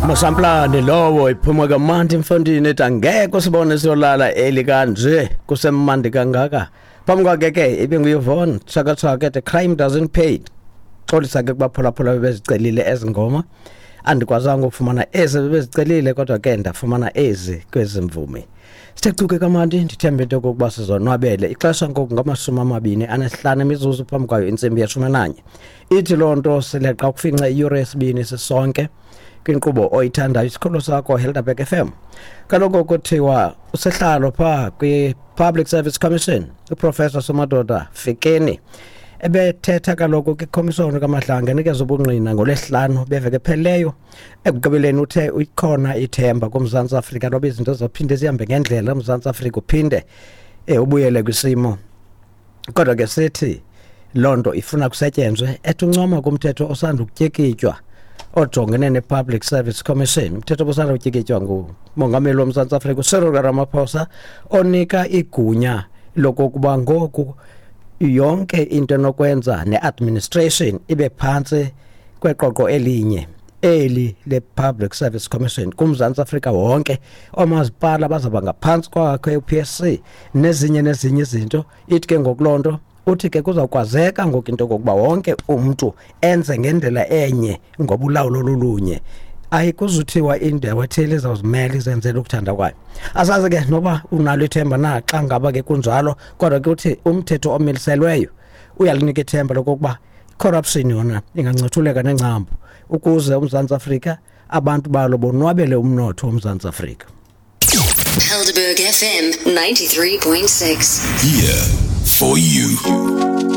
Masamplane lowo iphuma kamandi mfondini ethi angeke usibone siyolala eli kanje kusemandi kangaka. Phambi kwakhe ke ibinguYvonne Chaka Chaka ethi Crime Doesn't Pay. Xolisa ke kubaphulaphula bebezicelile ezi ngoma. Andikwazanga ukufumana ezi bebezicelile kodwa ke ndafumana ezi kwezi mvumi. Sithe cuke kamandi, ndithembe into yokokuba sizonwabele. Ixesha ngoku ngama-25 imizuzu phambi kwayo intsimbi ye-11. Ithi loo nto sileqa ukufinca iyure yesibini sisonke kwinkqubo oyithandayo, isikhululo sakho Helderberg FM. Kaloku kuthiwa usihlalo phaa kwi-Public Service Commission uProfessor Somadoda Fikeni ebethetha kaloku kwikhomishoni kaMadlanga enikeza ubungqina ngoLwesihlanu beveke ephelileyo. Ekugqibeleni uthe ikhona ithemba kuMzantsi Afrika loba izinto zophinde zihambe ngendlela, uMzantsi Afrika uphinde ubuyele kwisimo. Kodwa ke sithi loo nto ifuna kusetyenzwe. Ethi uncoma kumthetho osanda ukutyikitywa ojongene ne-Public Service Commission, umthetho obusanda kutyikitywa ngumongameli woMzantsi Afrika uCyril Ramaphosa, onika igunya lokokuba ngoku yonke into enokwenza ne-administration ibe phantsi kweqoqo elinye, eli le-Public Service Commission kuMzantsi Afrika wonke. Oomasipala bazawuba ngaphantsi kwakhe u-PSC nezinye nezinye izinto. Ithi ke ngoku loo nto uthi ke kuzawukwazeka ngoku into yokokuba wonke umntu enze ngendlela enye ngoba ulawulo lolunye, ayikuzuthiwa indawo ethile izawuzimela izenzele ukuthanda kwayo. Asazi ke noba unalo ithemba na xa ngaba ke kunjalo, kodwa ke uthi umthetho omiliselweyo uyalinika ithemba lokokuba corruption yona ingancothuleka nengcambu ukuze uMzantsi Afrika abantu balo bonwabele umnotho woMzantsi Afrika. Helderberg FM 93.6. Here for you.